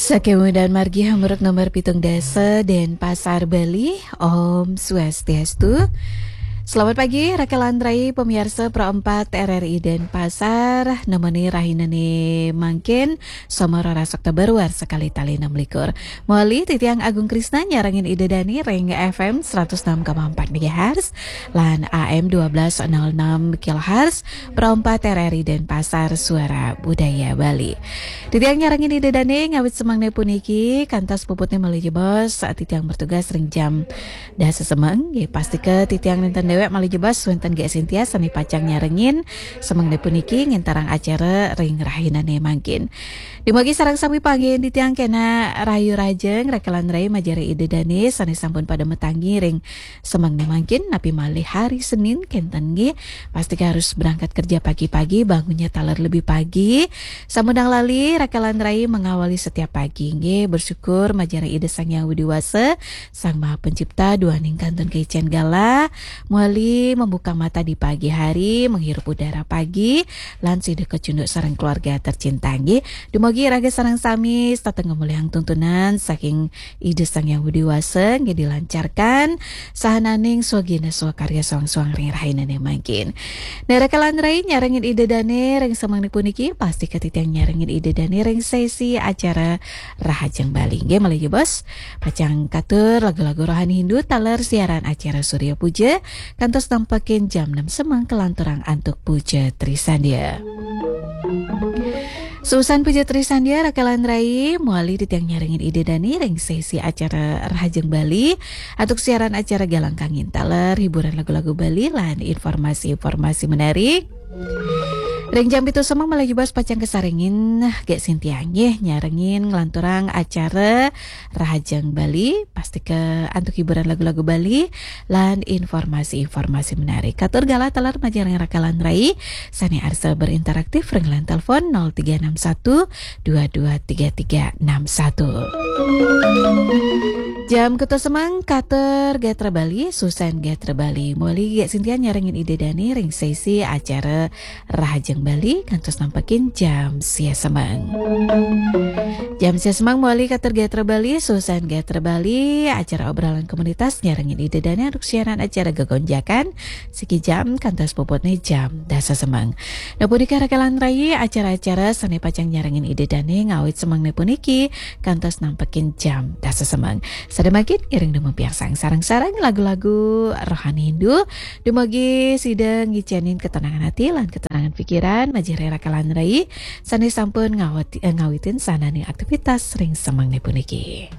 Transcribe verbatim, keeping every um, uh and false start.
Sakemudan margi hamburuk nomor pitung dasa Denpasar, Bali. Om Swastiastu. Selamat pagi, Rakelan Rai, pemirsa Pro empat R R I Denpasar. Nemeni rahinane mangkin, Somoro Ras Oktober, warsa kalih tali enam likur. Mawali titiang Agung Krisna nyarengin Ida Dani ring F M seratus enam koma empat megahertz lan A M dua belas nol enam kilohertz, Pro empat R R I Denpasar, Suara Budaya Bali. Titiang nyarengin Ida Dani ngawit semengne puniki, kantos puputne malih jebos, titiang bertugas ring jam dasa semeng. Nggih, pastika titiang nenten dewek malih jebos, wenten Gék Sintia sane pacang nyarengin semengne puniki nginterang acara ring rahinane mangkin. Dumugi sareng sami panggihin titiang kena rahayu rahajeng, Rakelan Rai majeng ring Ida Dani sane sampun pada matangi ring semengne mangkin, napi malih hari Senin kenten nggih. Pastika harus berangkat kerja pagi-pagi, bangunnya taler lebih pagi. Samudang lali, Rakelan Rai mengawali setiap pagi nggih. Bersyukur majeng ring Ida Sang Hyang Widi Wasa, Sang Maha Pencipta, duaning kantun kaicen galah, mawali membuka mata di pagi hari, menghirup udara pagi, lan sida kacunduk sareng keluarga tercinta nggih. Dumugi raga sareng sami setata ngamolihang tuntunan saking Ida Sang Hyang Widi Wasa nggih dilancarkan, sahananing swagina swakarya soang-soang ring rahinane mangkin. Nah, Rakelan Rai nyarengin Ida Dani ring semengne puniki, pastika titiang nyarengin Ida Dani ring sesi acara Rahajeng Bali. Nggih, malih jebos, pacang katur lagu-lagu rohani Hindu taler siaran acara Surya Puja, kantos nampekin jam enam semeng kalanturang antuk Puja Trisandya. Suusan Puja Trisandya, Rakelan Rai, mawali titiang nyarengin Ida Dani ring sesi acara Rahajeng Bali, antuk siaran acara Galang Kangin taler, hiburan lagu-lagu Bali, lan informasi-informasi menarik. Ring jam pitu semeng malih jebos pacang kasarengin Gék Sintia nggih nyarengin nglanturang acara Rahajeng Bali, pastika antuk hiburan lagu-lagu Bali lan informasi-informasi menarik. Katur galah taler majeng ring Rakelan Rai sane arsa berinteraktif ring line telepon nol tiga enam satu dua dua tiga tiga enam satu. Jam kutus semeng katur Gatra Bali, suusan Gatra Bali. Mawali Gék Sintia nyarengin Ida Dani ring sesi acara Rahajeng Bali kantos nampekin jam sia semeng. Jam sia semeng mawali katur Gatra Bali, suusan Gatra Bali, acara obrolan komunitas nyarengin Ida Dani antuk siaran acara Gegonjakan, siki jam kantos puputne jam dasa semeng. Nah, punika Rakelan Rai, acara-acara sane pacang nyarengin Ida Dani ngawit semengne puniki kantos nampekin jam dasa semeng. Sada mangkin ngiring dumun piarsang sareng-sareng lagu-lagu rohani Hindu. Dumugi sida ngicenin ketenangan ati lan ketenangan pikiran, majeng ring Rakelan Rai sane sampun ngawati-, eh, ngawitin sahananing aktivitas ring semengne puniki.